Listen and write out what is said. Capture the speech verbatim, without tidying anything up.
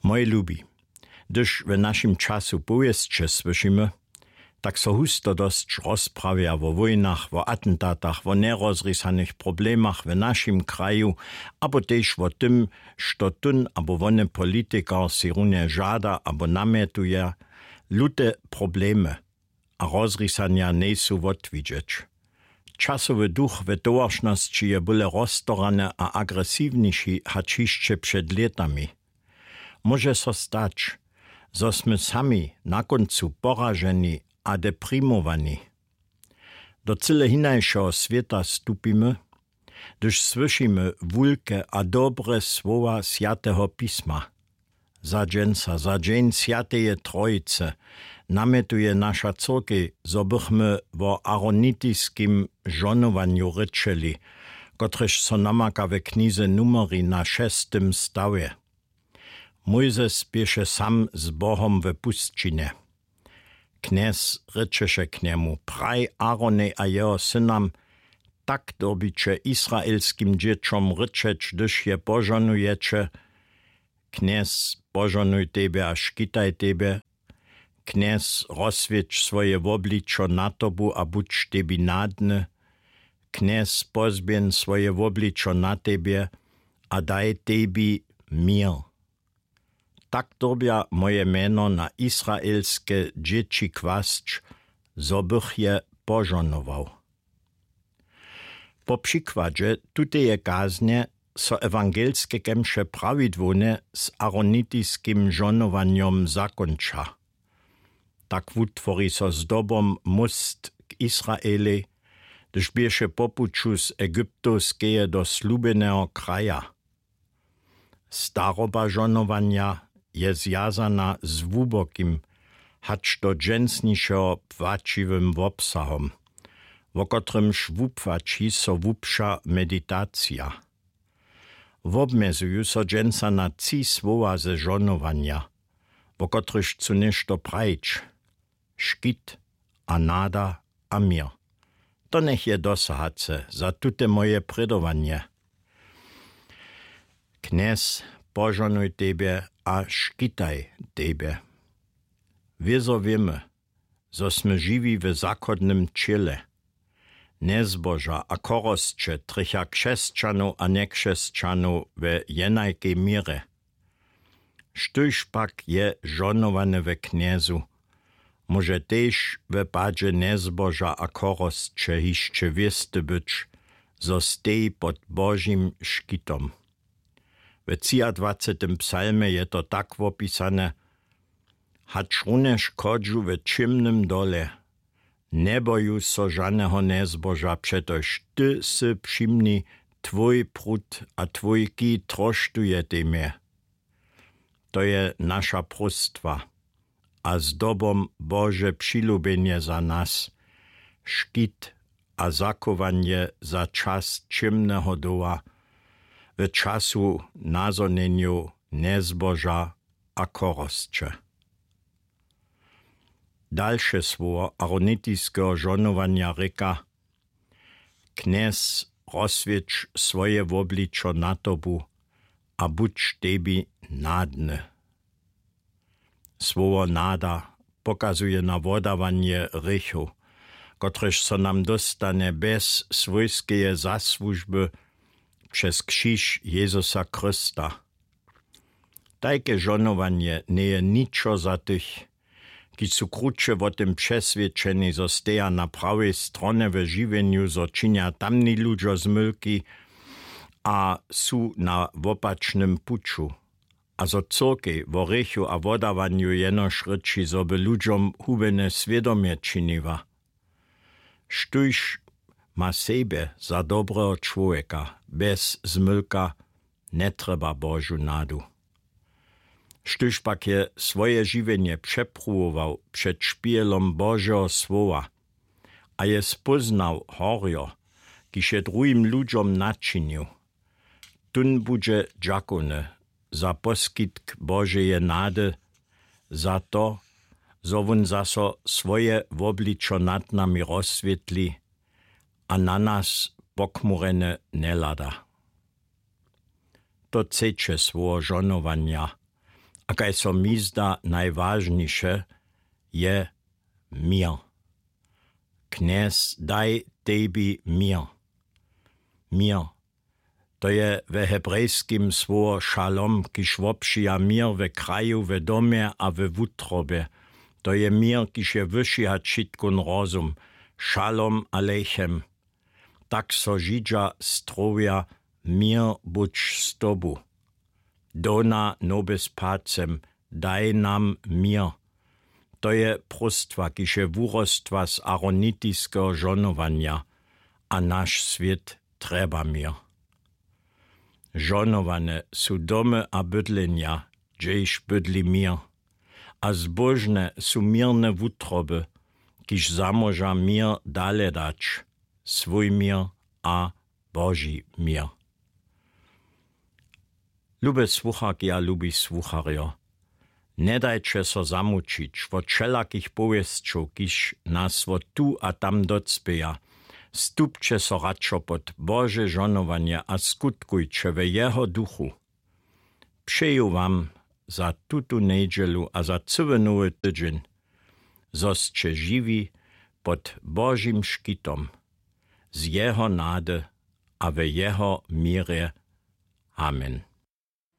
Moje lubi, hdyž w našim času powěsće słyšimy, tak so husto dosć rozprawja wo wójnach, wo atentatach, wo njerozrisanych problemach w našim kraju, abo tež wo tym, što tón abo wone politikar sej runje žada abo namjetuje. Lute problemy a rozrisanja njejsu wotwidźeć. Časowy duch w towaršnosći je bóle roztorany a agresiwniši hač hišće před lětami. Móže so stać, zo smy sami na kóncu poraženi a deprimowani. Do cyle hinašeho swěta stupimy, hdyž słyšimy wulke a dobre słowa swjateho pisma. Za dźensa, za dźeń swjateje trojicy, namjetuje naša cyrkej, zo bychmy wo aronitiskim žonowanju rěčeli, kotrež so namaka w knize Numeri na šestym stawje. Mójzes běše sam z Bohom w pusćinje. Knjez rěčeše k njemu: „Praj Aaronej a jeho synam: Tak dyrbiće israelskim dźěćom rěčeć, hdyž je požonujeće: Knjez požonuj tebje a škitaj tebje. Knjez rozswěć swoje wobličo na tobu a budź tebi nadny. Knjez pozběhń swoje wobličo na tebje a daj tebi měr.“ Tak dyrbja moje mjeno na israelske dźěći kłasć, zo bych je požohnował. Po přikładźe tuteje kaznje so ewangelske kemše prawidłownje z aronitiskim žohnowanjom zakónča. Tak wutwori so zdobom móst k Israelej, hdyž běše po puću z Egyptowskeje do slubjeneho kraja. Staroba žohnowanja je zwjazana z hłubokim, hač do dźensnišeho płaćiwym wobsahom, wo kotrymž wupłaći so hłubša meditacija. Wobmjezuju so dźensa na tři słowa ze žohnowanja, wo kotrychž chcu něšto prajić: škit a nada a měr. To njech je dosahace za tute moje prědowanje. Knjez, požohnuj tebje a škitaj tebje. Wězo wěmy, zo smy žiwi w zachodnym ćěle. Njezboža a chorosće trjecha křesćanow a njekřesćanow we jenajkej měrje. Štóž pak je žohnowany we Knjezu, móže tež we padźe njezboža a chorosće hišće wěsty być, zo steji pod Božim škitom. We třiadwacetym psalmje je to tak wopisane: „Hačrunjež chodźu w ćěmnym dole, njeboju so žaneho njezboža, přetož ty sy při mni, twój prut a twój kij troštujetej mje.“ To je naša próstwa a zdobom Bože přilubjenje za nas, škit a zachowanje za čas ćěmneho doła, w času nazhonjenjow njezboža a chorosće. Dalše słowo aronitiskeho žohnowanja rěka: „Knjez, rozswěć swoje wobličo na tobu a budź tebi nadny.“ Słowo nada pokazuje na wodawanje hrěchow, kotrež so nam dóstanje bjez swójskeje zasłužby přez křiž Jezusa Chrysta. Tajke žohnowanje njeje ničo za tych, kiž su kruće wo tym přeswědčeni, zo steja na prawej stronje w žiwjenju, zo činja tamni ludźo zmylki a su na wopačnym puću, a zo cyrkej wo hrěchu a wodawanju jenož rěči, zo by ludźom hubjene swědomje činiła. Štóž ma sebje za dobreho čłowjeka bjez zmylka, njetrjeba Božu nadu. Štóž pak je swoje žiwjenje přepruwował před špihelom Božeho słowa a je spóznał horjo, kiž je druhim ludźom načinił, tón budźe dźakowny za poskitk Božeje nady, za to, zo wón zaso swoje wobličo nad nami rozswětli a na nas pokmurjene njehlada. To třeće słowo žohnowanja A kaž so mi zda najwažniše, je měr. Knjez, daj tebi měr. Měr. To je we hebrejskim słowo šalom, kiž wobšija měr we kraju, we domje a we wutrobje. To je měr, kiž je wyši hač wšitkón rozum. Šalom alechem. Tak so Židźa strowja: Měr budź z tobu. Dona nobis pacem: Daj nam měr. To je próstwa, kiž je wurostła z aronitiskeho žonowanja. A naš swět trjeba měr. Žonowane su domy a bydlenja, hdźež bydli měr. A zbóžne su měrne wutroby, kiž zamóža měr dale dać, swój měr a Boži měr. Lube słucharki a lubi słucharjo, njedajće so zamućić wot wšelakich powěsćow, kiž nas wot tu a tam docpěja. Stupće so radšo pod Bože žonowanje a skutkujće we jeho duchu. Přeju wam za tutu njedźelu a za cyły nowy tydźeń, zo sće žiwi pod Božim škitom, z jeho nady a we jeho měrje. Amen.